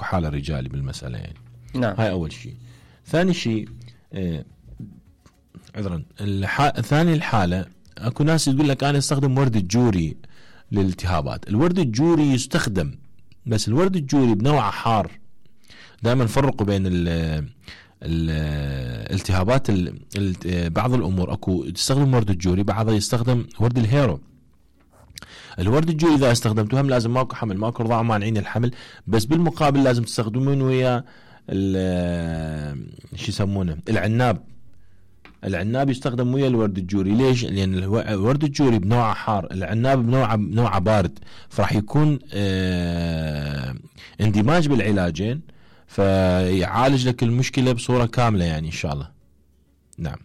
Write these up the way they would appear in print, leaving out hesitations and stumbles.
اكو حالة رجالي بالمسألة يعني. نعم. هاي اول شيء. ثاني شيء عذرا ثاني الحالة اكو ناس تقول لك انا استخدم ورد الجوري للالتهابات. الورد الجوري يستخدم، بس الورد الجوري بنوعه حار. دائما فرقوا بين الالتهابات بعض الامور اكو تستخدم ورد الجوري، بعضها يستخدم ورد الهيرو. الورد الجوري اذا استخدمتوه هم لازم ماكو حمل، ماكو رضاعه مانعين الحمل، بس بالمقابل لازم تستخدمون ويا شو يسمونه العناب يستخدم ويا الورد الجوري. ليش؟ لان الورد الجوري بنوعه حار، العناب بنوعه بارد، فراح يكون اندماج بالعلاجين، فيعالج لك المشكلة بصورة كاملة يعني إن شاء الله. نعم.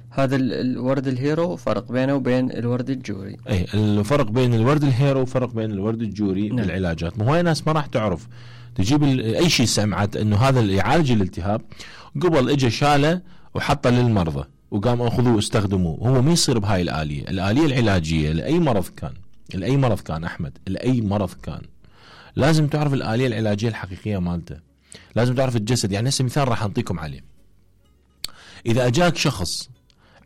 هذا الورد الهيرو فرق بينه وبين الورد الجوري. اي الفرق بين الورد الهيرو وفرق بين الورد الجوري. نعم. بالعلاجات. هواي ناس ما راح تعرف تجيب اي شيء سمعت انه هذا يعالج الالتهاب، قبل اجى شاله وحطه للمرضى وقام اخذوه استخدموه. هو ما يصير بهاي الآلية العلاجية لأي مرض كان أحمد، لأي مرض كان لازم تعرف الآلية العلاجية الحقيقية مالته، لازم تعرف الجسد. يعني هسه مثال راح أعطيكم عليه. إذا أجاك شخص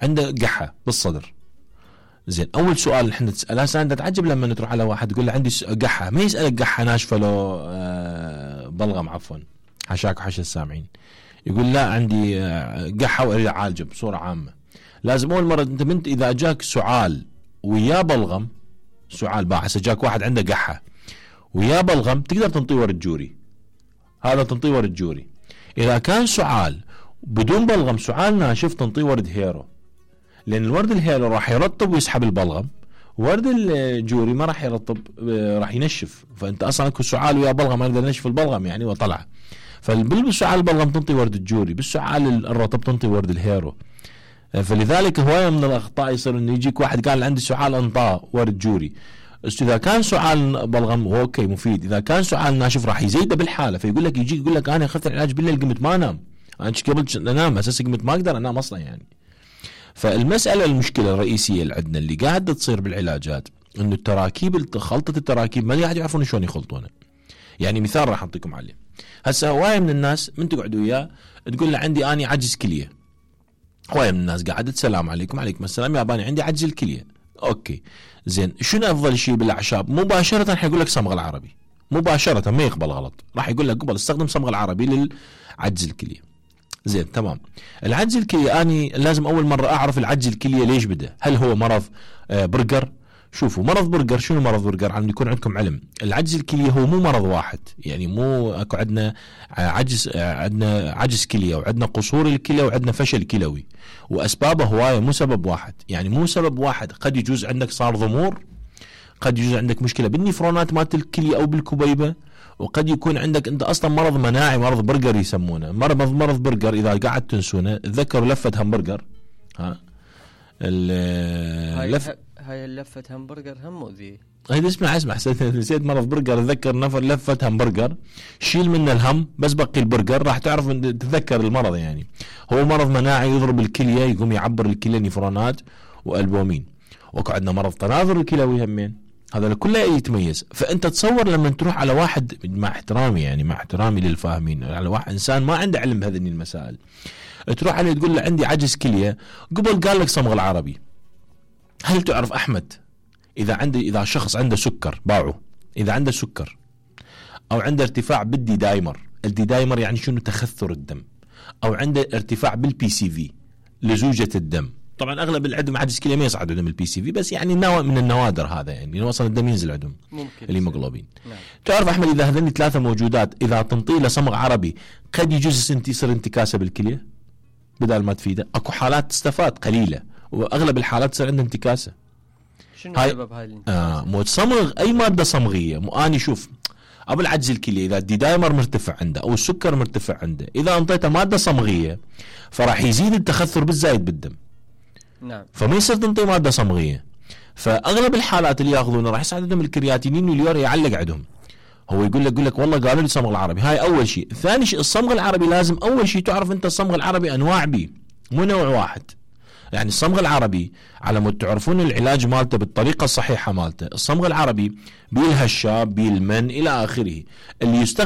عنده قحة بالصدر، زين، أول سؤال احنا نسأله، هسه أنت تتعجب لما تروح على واحد تقول له عندي قحة، ما يسألك قحة ناشفة لو بلغم، عفوا حشاك وحش السامعين، يقول لا عندي قحة وأريد أعالجه بصورة عامة. لازم أول مرة أنت إذا أجاك سعال ويا بلغم، سعال باحث، أجاك واحد عنده قحة ويا بلغم، تقدر تنطيه ورد جوري، هذا تنطيه ورد جوري. إذا كان سعال بدون بلغم، سعال ناشف، تنطيه ورد هيرو، لأن الورد الهيرو راح يرطب ويسحب البلغم، ورد الجوري ما راح يرطب، راح ينشف. فأنت أصلا أكو سعال ويا بلغم ما يقدر ينشف البلغم يعني وطلع. فبالسعال البلغم تنطي ورد الجوري، بالسعال الرطب تنطي ورد الهيرو. فلذلك هواية من الأخطاء يصير إنه يجيك واحد قال عندي سعال انطاه ورد جوري. إذا كان سعال بلغم هو أوكي مفيد، إذا كان سعال ناشف راح يزيده بالحالة، فيقول لك يجيك يقول لك أنا أخذت العلاج بالليل قمت ما أنام، أنا قبل أنام أساسا قمت ما أقدر أنام أصلا يعني. فالمسألة المشكلة الرئيسية اللي عندنا اللي قاعدة تصير بالعلاجات إنه التراكيب، خلطة التراكيب ما قاعد يعرفون شلون يخلطونها. يعني مثال راح أعطيكم عليه. هسه هواية من الناس من تقعدوا وياه تقول له عندي أنا عجز كلية، هواية من الناس قاعدة السلام عليكم، عليكم السلام يا باني عندي عجز الكلية، أوكي زين، شنو أفضل شيء بالأعشاب؟ مباشرة حيقول لك صمغ العربي، مباشرة ما يقبل غلط، راح يقول لك قبل استخدم صمغ العربي للعجز الكلية. زين تمام. العجز الكلية أنا لازم أول مرة أعرف العجز الكلية ليش بدأ، هل هو مرض برجر؟ شوفوا مرض برجر، شنو مرض برجر؟ عم يكون عندكم علم. العجز الكلية هو مو مرض واحد، يعني مو اكو عندنا عجز كلية وعندنا قصور الكلى وعندنا فشل كلوي، واسبابه هواية مو سبب واحد، يعني مو سبب واحد. قد يجوز عندك صار ضمور، قد يجوز عندك مشكلة بالنفرونات مالت الكلية او بالكبيبة، وقد يكون عندك انت اصلا مرض مناعي، مرض برجر يسمونه. مرض برجر اذا قاعد تنسونه تذكروا لفة همبرجر، هاي اللفة همبرجر هم مؤذية. هاي اسمع نسيت مرض برجر، تذكر نفر لفة همبرجر، شيل منه الهم بس بقي البرجر، راح تعرف تتذكر المرض. يعني هو مرض مناعي يضرب الكلية، يقوم يعبر الكلية نفرونات والبومين. وكو عندنا مرض تناظر الكلوي همين، هذا كله يتميز. فانت تصور لما تروح على واحد، مع احترامي يعني مع احترامي للفاهمين، على واحد انسان ما عنده علم بهذه المسائل، تروح عليه تقول له عندي عجز كلية، قبل قال لك صمغ العربي. هل تعرف أحمد إذا شخص عنده سكر باعه، إذا عنده سكر أو عنده ارتفاع بالدي دايمر، الدي دايمر يعني شنو؟ تخثر الدم، أو عنده ارتفاع بالبي سي في، لزوجة الدم. طبعا أغلب اللي عندهم عجز كلى ما يصعد عندهم البي سي في، بس يعني من النوادر هذا، يعني وصل الدم ينزل عندهم الهيموغلوبين. نعم. تعرف أحمد إذا هذني ثلاثة موجودات، إذا تنطي له صمغ عربي قد يجوز يصير انتكاسة بالكلية بدل ما تفيده. أكو حالات تستفاد قليلة، واغلب الحالات تصير عندها انتكاسه. شنو سبب هاي الانتكاسه؟ مو تصمغ اي ماده صمغيه. مو اني شوف ابو العجز الكلي اذا الدي دايمر مرتفع عنده او السكر مرتفع عنده، اذا انطيته ماده صمغيه فراح يزيد التخثر بالزايد بالدم. نعم. فما يصير تنطي ماده صمغيه. فاغلب الحالات اللي ياخذونه راح يصعد عندهم الكرياتينين واليوريا يعلق عندهم. هو يقول لك والله قالوا لي صمغ العربي. هاي اول شيء. ثاني شيء الصمغ العربي لازم اول شيء تعرف انت الصمغ العربي انواع بيه، مو نوع واحد. يعني الصمغ العربي على مود تعرفون العلاج مالته بالطريقة الصحيحة مالته. الصمغ العربي بيه الهشاب، بيه المن إلى آخره. اللي يستخدم